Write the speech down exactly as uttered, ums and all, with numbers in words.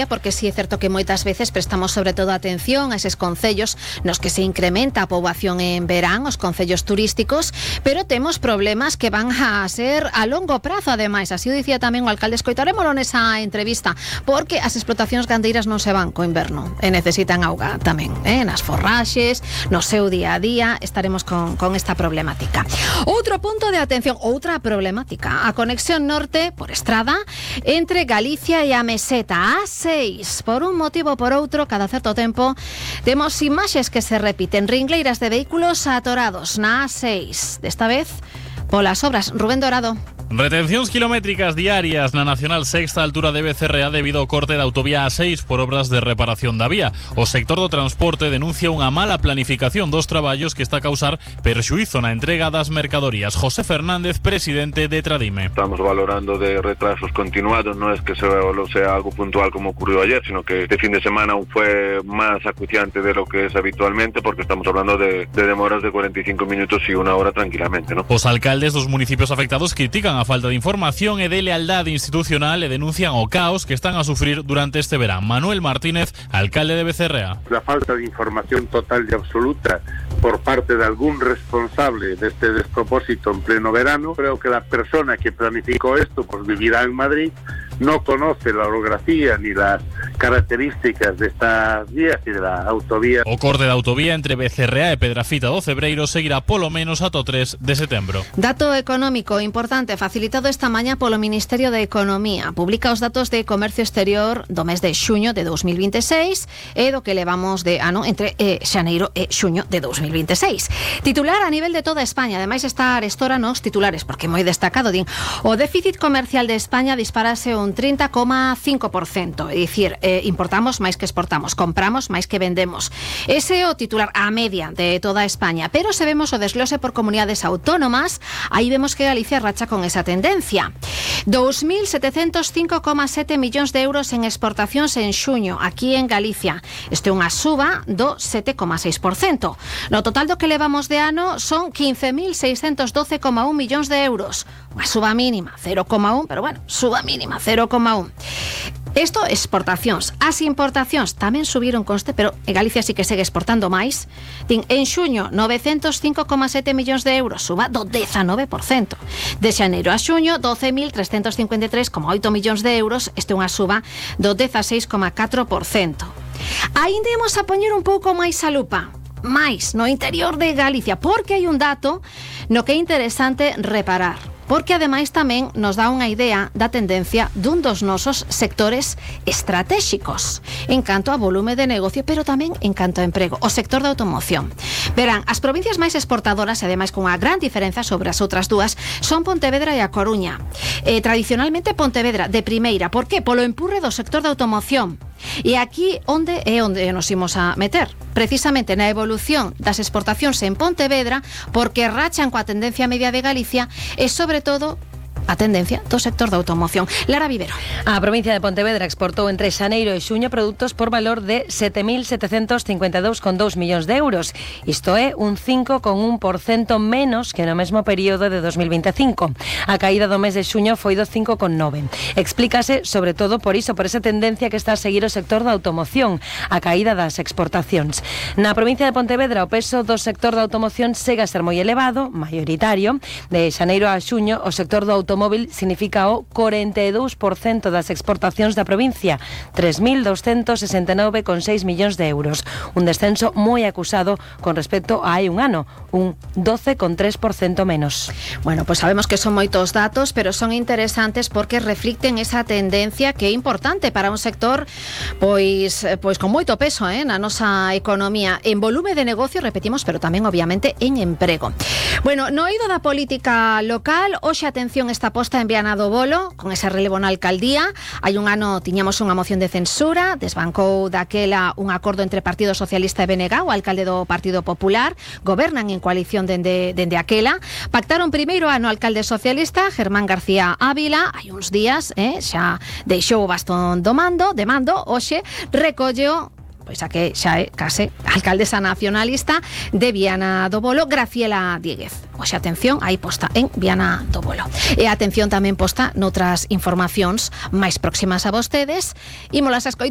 porque sí é certo que moitas veces prestamos sobre todo atención a eses concellos nos que se incrementa a poboación en verán, os concellos turísticos, pero temos problemas que van a ser a longo prazo, ademais, así o dicía tamén o alcalde. Escoitarémolo nesa entrevista, porque as explotacións gandeiras non se van co inverno e necesitan auga tamén, eh? nas forraxes, no seu día a día, estaremos con, con esta problemática. Outro punto de atención, outra problemática, a conexión norte por estrada entre Galicia e a Meseta, a seis, por un motivo ou por outro, cada certo tempo temos imaxes que se repiten, ringleiras de vehículos atorados na A seis, desta vez polas obras. Rubén Dorado. Retencións kilométricas diarias na Nacional Sexta altura de Becerrea debido ao corte da autovía A seis por obras de reparación da vía. O sector do transporte denuncia unha mala planificación dos traballos que está a causar perxuízo na entrega das mercadorías. José Fernández, presidente de Tradime. Estamos valorando de retrasos continuados, no es que sea algo puntual como ocurrió ayer, sino que este fin de semana aún fue más acuciante de lo que es habitualmente, porque estamos hablando de, de demoras de cuarenta y cinco minutos y una hora tranquilamente, ¿no? Os alcaldes dos municipios afectados critican a falta de información e de lealdade institucional e denuncian o caos que están a sufrir durante este verán. Manuel Martínez, alcalde de Becerrea. La falta de información total y absoluta por parte de algún responsable de este despropósito en pleno verano. Creo que la persona que planificó esto pues vivirá en Madrid, no conoce la orografía ni las características de estas vías y de la autovía. O corte da autovía entre Becerrea e Pedrafita do Cebreiro seguirá polo menos ata o tres de setembro. Dato económico importante facilitado esta mañá polo Ministerio de Economía. Publica os datos de comercio exterior do mes de xuño de dos mil veintiséis e do que levamos de ano entre eh, xaneiro e xuño de dos mil veintiséis. Titular a nivel de toda España, ademais está arestora nos titulares, porque moi destacado, din, o déficit comercial de España disparase un trinta coma cinco por cento, é dicir, eh, importamos máis que exportamos, compramos máis que vendemos. Ese é o titular a media de toda España, pero se vemos o desglose por comunidades autónomas, aí vemos que Galicia racha con esa tendencia. dos mil setecentos cinco coma sete millóns de euros en exportacións en xuño, aquí en Galicia. Isto é unha suba do sete coma seis por cento. No total do que levamos de ano son quince mil seiscentos doce coma un millóns de euros. Unha suba mínima, cero coma un, pero bueno, suba mínima, cero coma un. Isto exportacións. As importacións tamén subiron conste, pero en Galicia sí que segue exportando máis. Tin, en xuño, novecentos cinco coma sete millóns de euros, suba do dezanove por cento. De xaneiro a xuño, doce mil trescentos cincuenta e tres coma oito millóns de euros, este é unha suba do dezaseis coma catro por cento. Ainda imos a poñer un pouco máis a lupa, máis no interior de Galicia, porque hai un dato no que é interesante reparar, porque ademais tamén nos dá unha idea da tendencia dun dos nosos sectores estratégicos en canto a volume de negocio, pero tamén en canto a emprego, o sector da automoción. Verán, as provincias máis exportadoras, e ademais con unha gran diferenza sobre as outras dúas, son Pontevedra e a Coruña. Eh, tradicionalmente Pontevedra de primeira, por que? Polo empurre do sector da automoción. E aquí onde é onde nos imos a meter? Precisamente na evolución das exportacións en Pontevedra, porque rachan coa tendencia media de Galicia e sobre todo a tendencia do sector da automoción. Lara Vivero. A provincia de Pontevedra exportou entre xaneiro e xuño produtos por valor de sete mil setecentos cincuenta e dous coma dous millóns de euros. Isto é un cinco coma un por cento menos que no mesmo período de dos mil veinticinco. A caída do mes de xuño foi do cinco coma nove. Explícase sobre todo por iso, por esa tendencia que está a seguir o sector da automoción, a caída das exportacións. Na provincia de Pontevedra o peso do sector da automoción segue a ser moi elevado, maioritario. De xaneiro a xuño o sector do automóvil significa o cuarenta e dous por cento das exportacións da provincia, tres mil doscientos sesenta e nove coma seis millóns de euros, un descenso moi acusado con respecto a hai un ano, un doce coma tres por cento menos. Bueno, pues sabemos que son moitos datos, pero son interesantes porque reflicten esa tendencia que é importante para un sector pois pois con moito peso, eh, na nosa economía, en volume de negocio, repetimos, pero tamén obviamente en emprego. Bueno, no eido da política local, hoxe atención esta posta en Viana do Bolo, con ese relevo na alcaldía. Hai un ano tiñamos unha moción de censura, desbancou daquela un acordo entre Partido Socialista e B N G, o alcalde do Partido Popular, gobernan en coalición dende, dende aquela. Pactaron primeiro ano o alcalde socialista, Germán García Ávila, hai uns días, eh, xa deixou o bastón do mando, de mando, hoxe recolleo pois a que xa é case alcaldesa nacionalista de Viana do Bolo, Graciela Dieguez. Oxe, atención, aí posta en Viana do Bolo. E atención tamén posta noutras informacións máis próximas a vostedes. Ímolas a escoitar